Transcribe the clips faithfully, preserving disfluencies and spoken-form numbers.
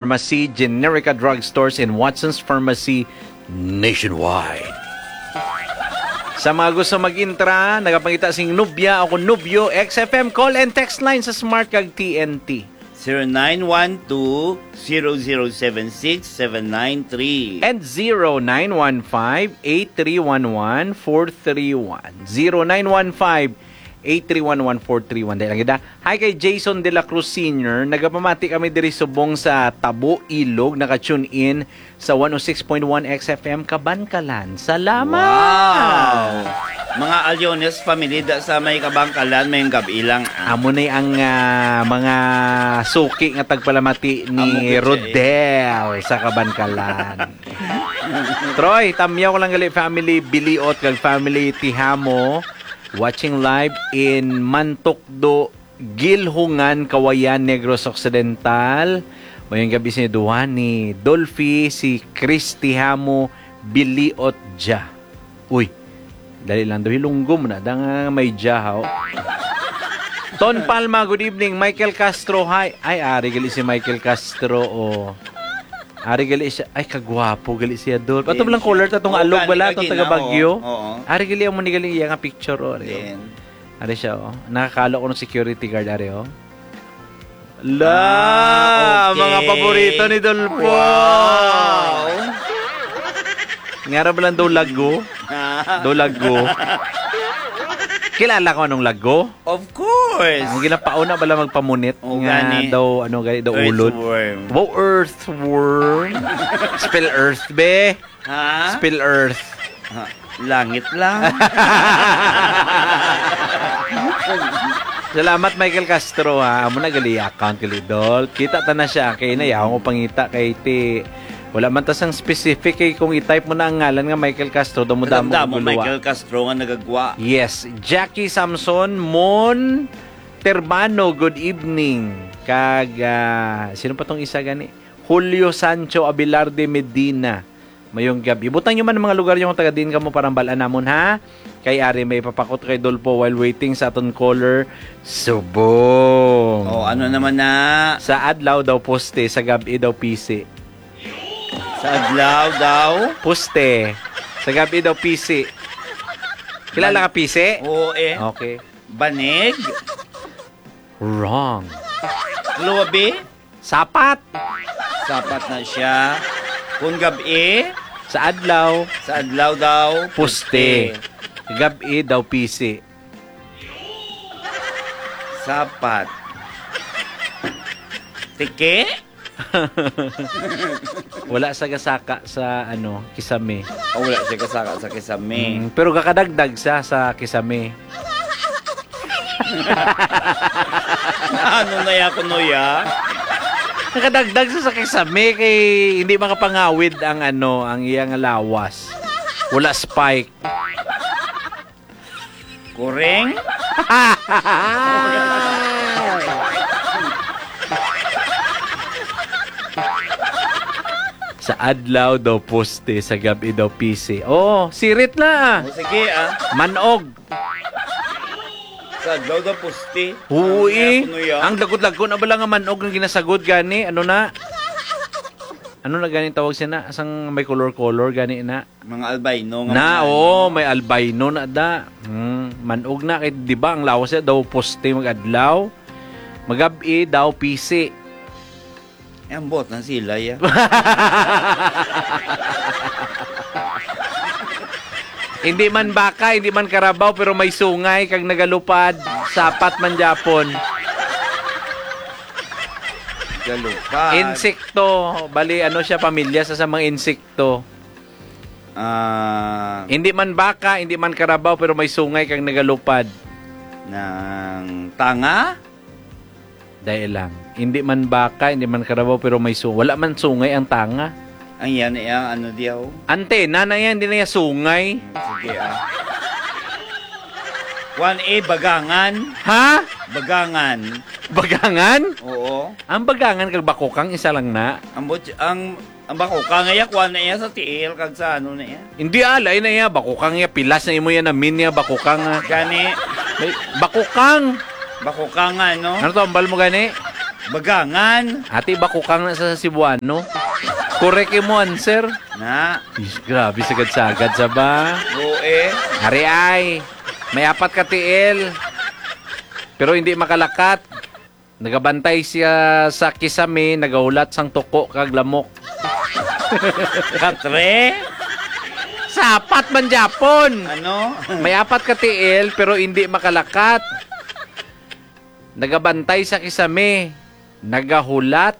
Pharmacy, Generica Drug Stores, and Watson's Pharmacy nationwide. Sa mga gusto mag-intra, nagapangita sing nubya o kung nubyo, X F M call and text line sa Smart kag T N T. Zero nine one two, zero zero seven six, seven nine three. And zero nine one five, eight three one one, four three one. Zero nine one five, eight three one one, four three one. Dahil lang kita. Hi kay Jason De La Cruz Senior. Nagapamati kami diri subong sa Tabo, Ilog. Naka-tune in sa one oh six point one X F M Kabankalan. Salamat! Wow! Mga Aliones family da sa may Kabankalan, may gabi lang, ah. Amo ni ang, ah, mga suki nga tagpalamati ni Amo gid siya, eh. Rodel sa Kabankalan. Troy, tamyaw ko lang gali family Biliot kag family Tihamo. Watching live in Mantukdo, Gilhungan, Kawayan, Negros Occidental. Mayong gabi sa inyo duha ni Dolphy, si Christy Hamo, Biliot Ja. Uy, dali lang daw, hilunggo mo na. Da nga may ja, ha, oh. Ton Palma, good evening. Michael Castro, hi. Ay, ari gali si Michael Castro, oh. Ari gali siya. Ay, kagwapo gali siya, Dol. Ato Din lang siya. Color, ta tong Oh, alog gani, bala, gagi tong taga na, oo. Baguio. Oo. Ari gali ang muni gali iya nga picture, oh, ari, oh. Din. Ari siya, oh. Nakakalo ko ng security guard, ari, oh. La, Ah, okay. Mga paborito ni Dolphy. Wow. Nga ra ba lang daw lago? Ah. Daw lago. Kilala ko anong lago? Of course. Ang ginapauna bala magpamunit Oh, nga gani. Daw, ano, gani, daw ulod. Earthworm. Wow, earthworm. Spell earth, be. Ha? Spell earth. Ha? Langit lang. Salamat, Michael Castro, ha. Amo na gali account, gali, Dol. Kita ta na siya. Kay nayaw ko pangita kay ti wala man ta sang specific kay kung i-type mo na ang ngalan nga Michael Castro, damo-damo Damo, ang guluwa. Michael Castro nga nagagwa. Yes. Jackie Samson, Mon Terbano, good evening. Kag, ah, sino pa tong isa gani? Julio Sancho Abelarde Medina. Mayong gabi. Ibutang nyo man ang mga lugar nyo kung taga diin kamo para balaan namon, ha? Kay ari may papakot kay Dolpo while waiting sa aton caller. Subong. Oh, ano naman na? Sa adlaw daw poste, sa gabi daw pisi. Sa adlaw daw? Poste. Sa gabi daw pisi. Kilala ka pisi? Oo, eh. Okay. Banig? Wrong. Lubi? Sapat. Sapat na siya. Kung gabi? Sa adlaw. Sa adlaw daw? Poste. Poste. Gabi daw pisi. Sapat. Tiki? Wala sa gasaka sa, ano, kisame. Oh, wala siya kasaka sa kisame. Mm, pero gakadagdag siya sa kisame. Ano na ya kuno ya? Nakadagdag siya sa kisame kay hindi makapangawid ang, ano, ang iyang lawas. Wala spike. Kuring? Sa adlaw daw poste, sa gabi daw pisi. Oh, sirit na, ah. Oh, sige, ah. Manog. Sa adlaw daw poste. Huwi. Ano ya? Ang dagko-dagko na bala nga manog nga ginasagod gani? Ano na? Ano na gani tawag siya na? Sang may color-color gani na? Mga albino nga Na, mga oo, ano. May albino na da. Hmm, manog na kay, di ba, ang lawas niya daw poste mag-adlaw. Magabi daw pisi. Eh, ambot na sila, ya. Hindi man baka, hindi man karabaw, pero may sungay kag nagalupad. Sapat man gyapon. Galupad. Insekto. Bali, ano siya, pamilya sa, sa mga insekto. Ah, Hindi man baka, hindi man karabaw, pero may sungay kag nagalupad. Ng tanga? Dahil lang. Hindi man baka, hindi man karabaw, pero may su-, wala man sungay ang tanga. Ang yan, eh, ang ano diyaw? Antena na yan, hindi na yan sungay. Hmm, sige, ah. One A, bagangan. Ha? Bagangan. Bagangan? Oo. Ang bagangan kag bakukang isa lang na. Ang bot-, ang, ang bakukang, iya, kuha na iya sa tiil, kag sa ano na iya. Hindi, ah, lain na iya. Bakukang iya, pilas na imo yan, amin niya, bakukang, ah. Gani. May, bakukang. Bakukang, ano? Ano to, ambal mo gani? Bagangan. Ati, bakukang na sa Cebuano. Correct imo answer. Na. Is, grabe, sagad-sagad sa ba? Oo, eh. Ari ay, may apat ka tiil. Pero hindi makalakat. Nagabantay siya sa kisame, nagahulat sang tuko kag lamok. Katre? Sapat man, Japon. Ano? May apat ka tiil, pero hindi makalakat. Nagabantay sa kisame, nagahulat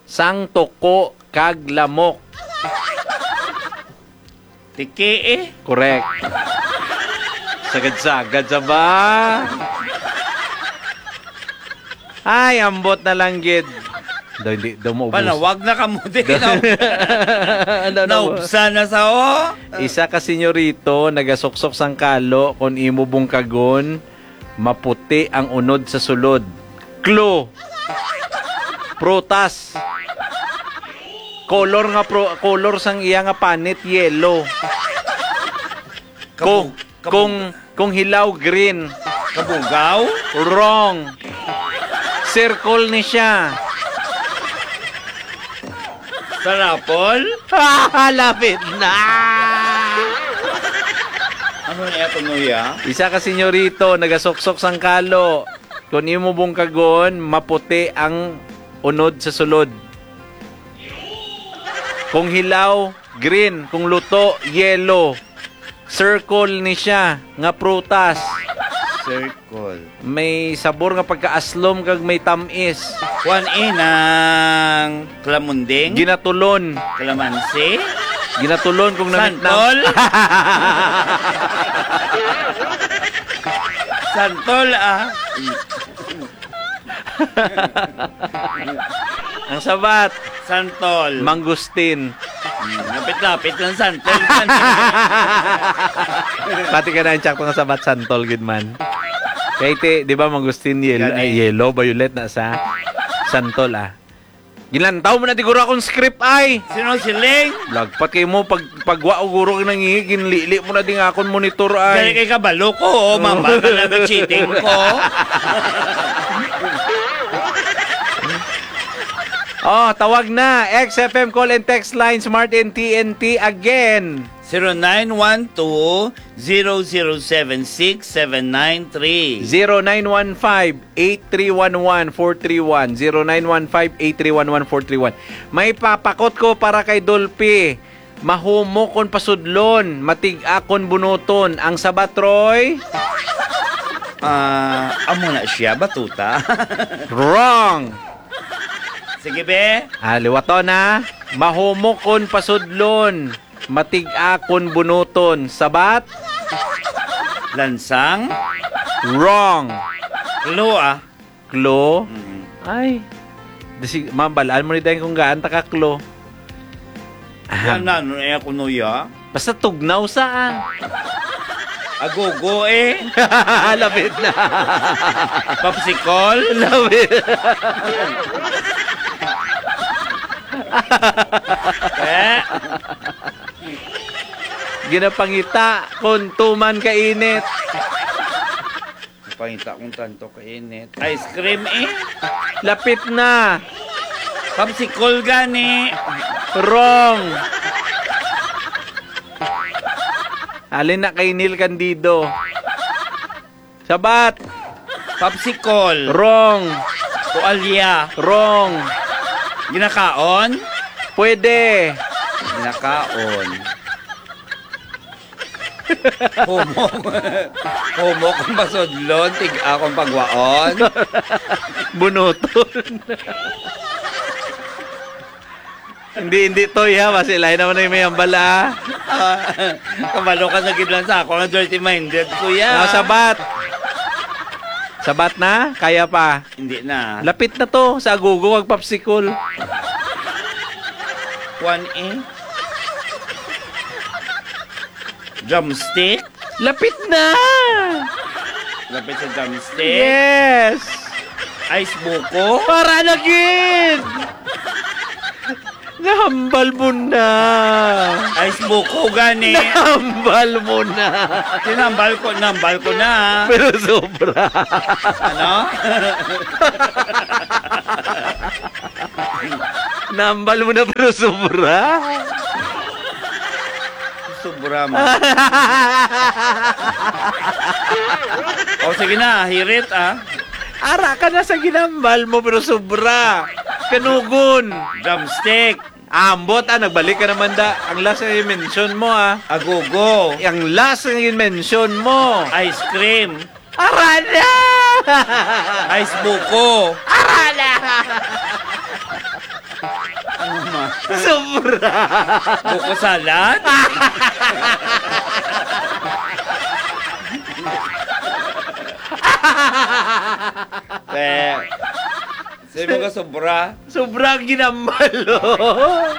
sang tuko kag lamok. Tiki, eh. Correct. Sagad-sagad sa ba? Ay, ambot na lang gid. Daw, hindi, daw maubos. Panawag na kamo din. Daw, daw, daw. Naubsa na sa, oh. Isa ka senyorito nagasuksok sang kalo, kon imo bungkagon, maputi ang unod sa sulod. Clue. Prutas. Color nga pro-, color sang iya nga panit, yellow. Kung, Kabug-, kung, kabug-, kung hilaw, green. Kabugaw? Wrong. Circle ni siya. Sarapol? Lapit na! Ano na ito, Nuya? Isa ka senyorito, nagasuksok sang kalo. Kung imo bungkagon, maputi ang unod sa sulod. Kung hilaw, green. Kung luto, yellow. Circle ni siya nga prutas. Circle. May sabor nga pagkaaslom kag may tamis. Kuan, eh, nang klamunding? Ginatulon. Kalamansi? Ginatulon kung namit na. Santol? Santol, ah. Ang sabat, Santol. Mangustin. Hmm, lapit-lapit lang, Santol. Pati ka na ang tsakto nga sabat, Santol, gid man. Kay ti, di ba, mangustin, yel-, Gani. Ay, yellow, violet na sa Santol, ah. Ginlantaw mo na, di guro akong script, ay. Sino siling? Lagpat kay mo, pag, pagwa o guro, nangingig, ginlili mo na di nga akong monitor, ay. Dali kay kabalo ko, oh, mama, talaga cheating ko. Oh, tawag na. X F M call and text line, Smart and T N T again. Zero nine one two, zero zero seven six, seven nine three. Zero nine one five, eight three one one, four three one. Zero nine one five, eight three one one, four three one. May papakot ko para kay Dolphy. Mahumok kon pasudlon, matig-a kon bunuton. Ang sabat, Roy? Ah, amo na siya, batuta. Wrong! Sige, be. Ah, liwaton na. Mahumok kon pasudlon, matig-a kon bunuton. Sabat? Lansang? Wrong. Clue, ah. Klo? Mm. Ay. Di si, mabalaan mo ni Deng kung gaan ta ka klo. Ahem. Yan na, ano na yan, kuno ya? Basta tugnaw sa, ah. Agogo, eh. Lapit na. Popsicle? Lapit. Eh. Ginapangita kung tuman ka init. Pangita kung tanto kainit. Ice cream, eh. Lapit na. Popsicle gani. Wrong. Alin na kay Neil Candido? Sabat. Popsicle. Wrong. Tuwalya. Wrong. Ginakaon? Pwede. Ginakaon. Humok. Humok ang masudlon, tig-a kong pagwaon. Bunuton. Hindi, hindi, Toy, ha? Basi lain naman na yung may hambal, ha? Ah, kabalo ka na gid lang sa ako nga dirty-minded, kuya. Ah, sabat. Sabat na? Kaya pa? Hindi na. Lapit na to. Sa agugo, magpapsikol. Kuan, eh. Drumstick? Lapit na! Lapit sa drumstick? Yes! Ice buko? Para na gid! Nahambal mo na. Ice buko gani. Nahambal mo na. Tinambal ko, nambal ko na. Pero sobra. Ano? Nambal mo na pero sobra. Sobra mo. O sige na, hirit ah. Ara ka na sa ginambal mo pero sobra. Kanugon. Drumstick. Ambot ah, nagbalik ka naman da. Ang last nga i-mention mo ah. Agogo. Ang last nga i-mention mo. Ice cream. Ara na! Ice buko. Ara na! Ano ma? Sobra! Buko salad? Eh, sabi ko sobra. Sobra ang ginambal, oh.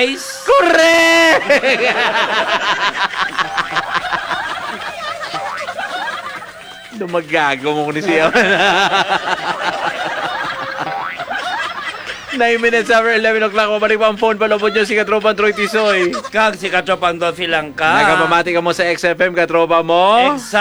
Ice? Correct! Dumagago mo ko ni siya. Nine minutes after eleven o'clock, mabalik pa ang phone palubot nyo si Katropang Troy Tisoy. Kag si Katropang Dolphy Langka. Nagapamati ka mo sa X F M, katropa mo. Exact.